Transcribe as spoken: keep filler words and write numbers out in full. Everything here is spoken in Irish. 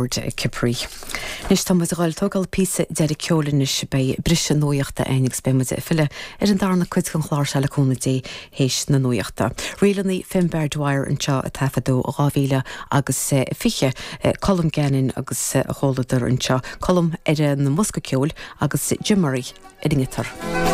Cipri. Anois tá muid ag dul tógáil píosa deiridh ceoil anois beidh briseadh nuachta ann agus beidh muid ag filleadh ar an darna cuid den chlár seo le cúnamh Dé théis na nuachta. Ríleanna Finbar Dwyer anseo a taifeadadh dhá mhíle agus fiche Colm Gannon agus a chomhluadar anseo Colm ar an mbosca ceoil agus Jim Murray ar an ngiotár.